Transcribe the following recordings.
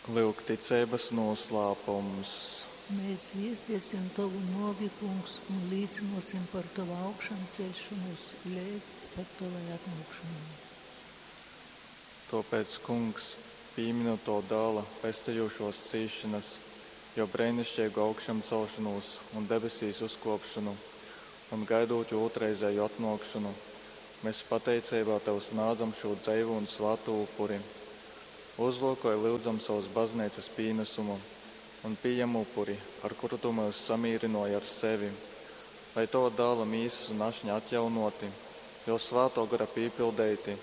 Lyuk ticeibas noslēpums. Mēs viestiesim Tovu nuovi, Kungs, un līcynuosim par Tovu augšamceļšonūs leidz pat Tovai atnuokšonai. Tuopēc, Kungs, pīminot Tova Dāla pestejušuos cīsšonas, juo breiniškeigu augšamcelšonūs un debesīs uzkuopšonu, un gaidūt juo ūtrreizēju atnuokšonu, mēs pateiceibā Tev snādzam šū dzeivū un svātū upuri. Uzlūkoj, lyudzam, sovas Bazneicas pīnasumu un pījem upuri, ar kuru Tu myus samīrynuoji ar sevi. Lai Tova Dāla mīsas un ašņa atjaunuoti, Juo Svātuo Gora pīpildeiti,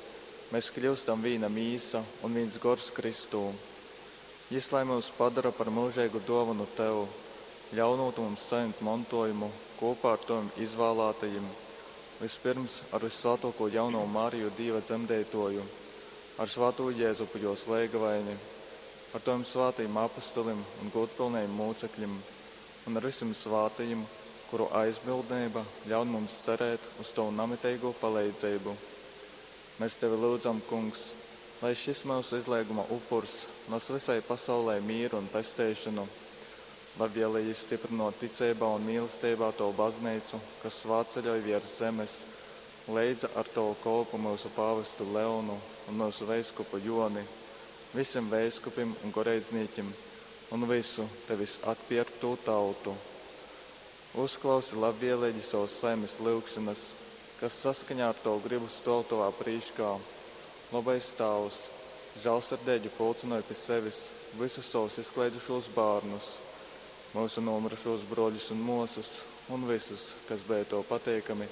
mēs kļiustam vīna mīsa un vīns gors Kristū. Jis lai myus padora par myužeigu duovonu Tev, ļaunūt mums sajimt montuojumu kūpā ar Tovim izvālātajim, vispirms ar Vyssvātuokū Jaunovu Mariju Dīva dzemdeituoju, ar svātū Jezupu juos leigavaini, ar Tovim svātajim apustulim un gūdpilnajim mūcekļim un ar vysim svātajim, kuru aizbildneiba ļaun mums cerēt uz Tovu namiteigū paleidzeibu. Mēs Tevi lyudzam, Kungs, lai šis myusu izleiguma upurs nas vysai pasaulei mīru un pesteišonu. Labvēlīgi stiprinot ticeibā un mīlesteibā Tovu bazneicu, kas svātceļoj viers zemes, leidza ar Tovu kolpu myusu pāvestu Leonu un myusu veiskupu Joni, vysim veiskupim un goreidznīkim un vysu Tevis atpierktū tautu. Uzklausi labvēlīgi savas saimes lyugšonas, kas saskaņā ar Tovu gribu stuov Tovā prīškā. Lobais Tāvs, žālsirdeigi pulcynoj pi sevis vysus savus izkleidušūs bārnus, myusu nomyrušūs bruoļus un muosys un vysus, kas beja Tev pateikami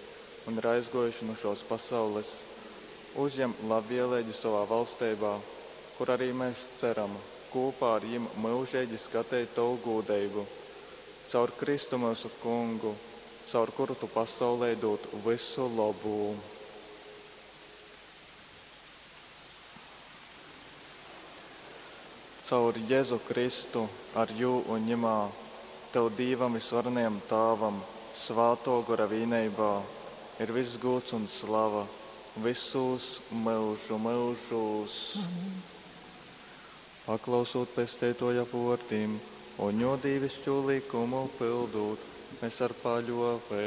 un ir aizguojuši nu šuos pasaules. Uzjem labvēlīgi sovā valsteibā, kur arī mēs ceram kūpā ar jim myužeigi skateit Tovu gūdeibu. Caur Kristu myusu Kungu, caur kuru Tu pasaulei dūd vysu lobū. Caur Jezu Kristu, ar Jū un Ņimā, Tev Dīvam Vysvarenajam Tāvam, Svātō Gora vīneibā, ir vyss gūds un slava vysūs myužu myužūs. Amen. Paklausūt Pesteituoja vuordim un Juo dīviškū lykumu pyldūt, mēs ar paļuoveibu.